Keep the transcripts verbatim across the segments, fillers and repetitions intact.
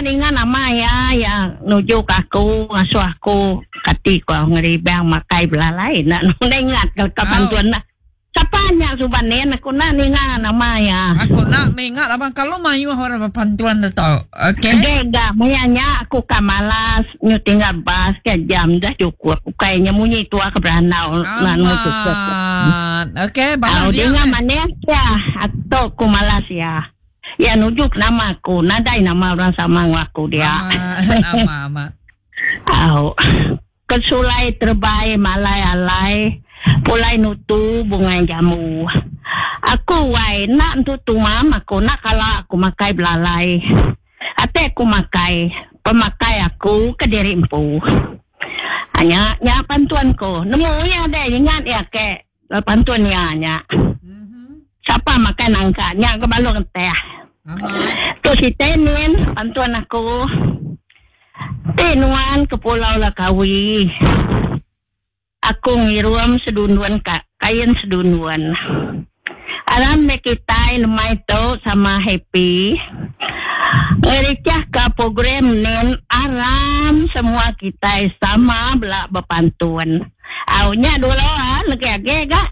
nak ingat nama ya ya nuju ke aku ngasuh aku kati ko ngeribang makai belalai nak nak ingat ke ke pantun nak. Siapa nya suban ni aku nak ninga nama ya. Aku nak mengingat abang kalau mayu orang berpantuan tu tau. Okey. Okay dah mayanya aku ka malas nyu tinggal bas ke jam dah cukup. Kayaknya munyi tua ke beranau nak nyu cukup. Amat. Okey, balas Au dia. dengar mana ya atau aku malas ya. Ya nujuk nama aku, nadai nama orang sama dengan aku dia. Amat, amat, amat. Au. Kesulai terbaik malai alai pulai nutu bunga jamu. Aku wai nak tu tumam aku nak kalau aku makai belalai. Ate aku makai, pemakai aku ke diri empu. Hanya nya pantuanku. Nemu ya deh ingat ya ke pantun ya nya. Mhm. Siapa makan nangka nya ke balong teh. Amat. Tu si Tenin pantuan aku. Tenuan ke Pulau Lakawi. Aku ngirum sedunduan ka, kain sedunduan. Alam me kita lemai tu sama happy. Ngericah ke program nin aram semua kita sama belak berpantun. Aunya dulu ah lagi age gak.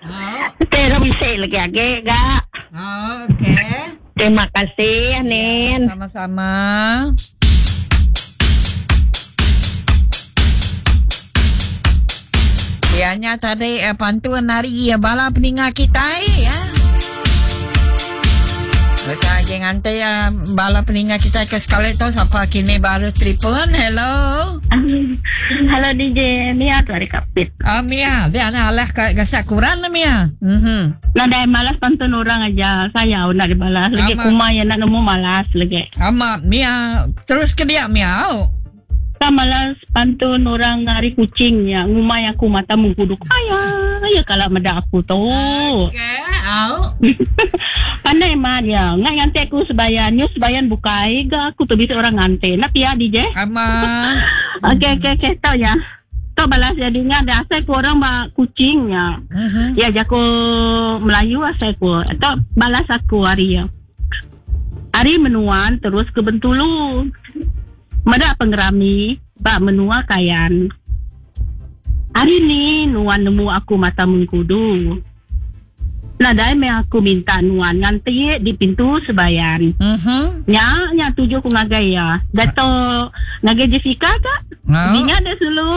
Oh, Tera bisa lagi age gak. oh, okey. Terima kasih Nin. Sama-sama. Ianya tadi eh, pantun hari ya bala peninga kita ya. Mereka lagi nganti ya bala peninga kita ke sekali tu siapa kini baru telefon. Hello. Halo D J, Mia tu hari kapit. Ah Mia, dia nak alah ke gasak kurang lah Mia. Mhm. Nadai malas pantun orang aja. Saya nak dibalas. Lagi Amat. kumai yang nak nemu malas lagi. Amat Mia, terus ke dia Mia. Oh. Tak malas pantun orang hari kucingnya. Ngumai aku mata mengkuduk. Ayah, ya kalau meda aku tu. Okey, au. Pandai mah dia. Nggak nganti aku sebayan. Nyu sebayan bukai. Ga aku tu bisa orang nganti. Nak pia D J? Aman. Okey, okey, okey. Tahu ya. Tahu balas jadinya ada asal ku orang bak kucingnya. Mhm. Ya, jago Melayu asal ku. Atau balas aku hari ya. Hari menuan terus ke Bentulu. Medak pengerami, bak menua kayan. Hari ni nuan nemu aku mata mengkudu. Nadai me aku minta nuan nganti di pintu sebayan. Mhm. Nya, nya tuju ku ngagai ya. Dato ngagai Jessica kak? Au. Dinga dah sulu.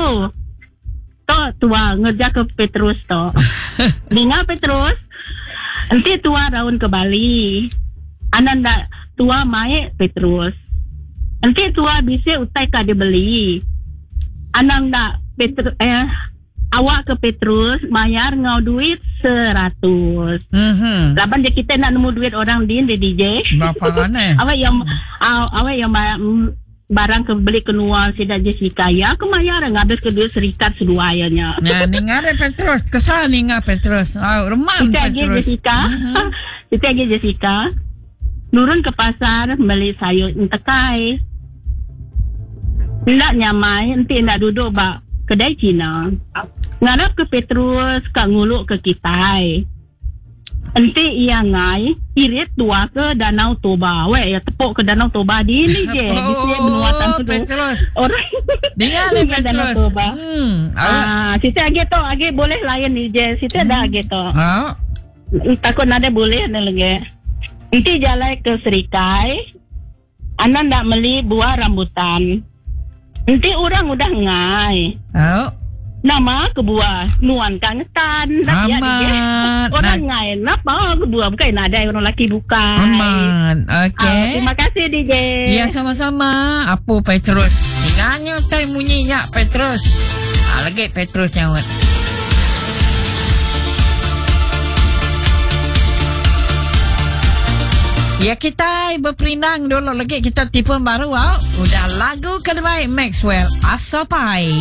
Tok tua ngerja ke Petrus tok. Dinga Petrus. Enti tua raun ke Bali. Ananda tua mae Petrus. Enti tua bisa utai ka dia beli. Ananda Petrus eh awak ke Petrus bayar ngau duit seratus. Mhm. Laban dia kita nak nemu duit orang din di D J. Berapa aneh? Awak yang aw, awak yang ba- mm, barang ke beli kenual sidak Jessica ya aku mayar ngabis ke duit serikat seduanya. Nah, ninga ada Petrus. Kesal ninga Petrus. Oh, remam Kita lagi Petrus. Jessica. Mhm. Kita lagi Jessica. Nurun ke pasar beli sayur entekai. Ndak nyamai, enti ndak duduk bak kedai Cina. Ngarap ke Petrus kak nguluk ke kitai. Enti ia ngai irit tua ke Danau Toba. Weh, ya tepuk ke Danau Toba di ni je. Di sini benua Oh, tantu. Petrus. Orang Dengar ni Dengar Danau Petrus. Toba. Hmm. Awak. Ah, situ lagi tu, lagi boleh lain ni je. Situ ada lagi tu. Oh. Takut nada boleh ni lagi. Nanti jalan ke Serikai. Anak nak beli buah rambutan. Nanti orang udah ngai. Oh. Nama ke buah nuan kang ngetan. Nak ya, dia. Amat. Orang ngai napa ke buah bukan ada orang laki bukan. Aman. Ah, Okey. terima kasih D J. Ya sama-sama. Apa Petrus? Dengarnya tai bunyinya Petrus. Ah, lagi Petrus nyaut. Ya kita berperindang dulu lagi kita telefon baru au. Udah lagu kedua Maxwell Asopai.